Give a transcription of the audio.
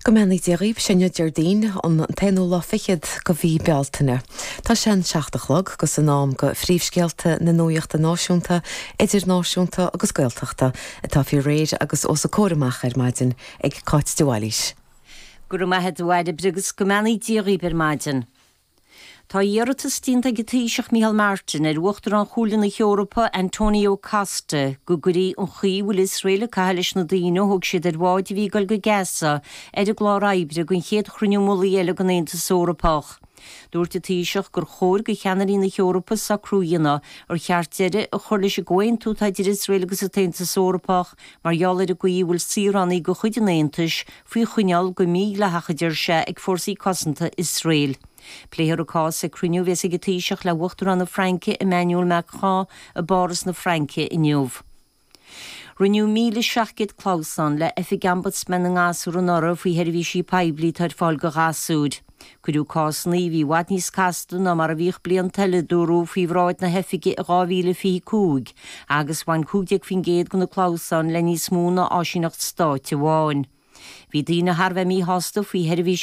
Go mbeannaí Dia dhaoibh, sé inniu Déardaoin, an t-aonú lá fichead go mhí Bealtaine. Tá sé an 7 a chlog agus in am go phríomhscéalta na nuaíochta náisiúnta, idirnáisiúnta agus Gaeltachta atá faoi réir agus os a comhair amach ar maidin ag Cáit de Bhailís. Go raibh maith a't a Bhairbre agus go mbeannaí Dia dhaoibh ar maidin. Tá iarratas déanta ag an Taoiseach Micheál Martin ar Uachtarán Chomhairle na hEorpa Antonio Costa go gcuirfí an chaoi a bhfuil Iosrael ag caitheamh leis na daoine a thóg siad ar bháid a bhí ag dul go Gaza ar an gclár oibre don chéad chruinniú mullaigh eile den Aontas Eorpach. Dúirt an Taoiseach gur chóir do cheannairí na hEorpa socrú a dhéanamh ar cheart deireadh a chur leis an gcomhaontú atá idir Iosrael agus an tAontas Eorpach mar gheall ar an gcaoi a bhfuil saoránaigh de chuid an Aontais faoi choinneáil go mídhleathach, a deir sé, ag fórsaí cosanta Iosrael. Pléifear an cás ag cruinniú a bheas ag an Taoiseach le hUachtarán na Fraince Emmanuel Macron i bPáras na Fraince inniu. Rinneadh 1,700 clamhsán le Oifig Ombudsman na nGasúr anuraidh faoi sheirbhísí poiblí atá ar fáil do ghasúir. Cuireadh cásanna a bhí i bhfad níos casta ná mar a bhíodh blianta eile, a dúradh, faoi bhráid na hoifige i 2025 agus bhain 15% de na clamhsáin le níos mó ná áisíneacht stáit amháin. Bhí daoine thar a bheith míshásta faoi sheirbhísí.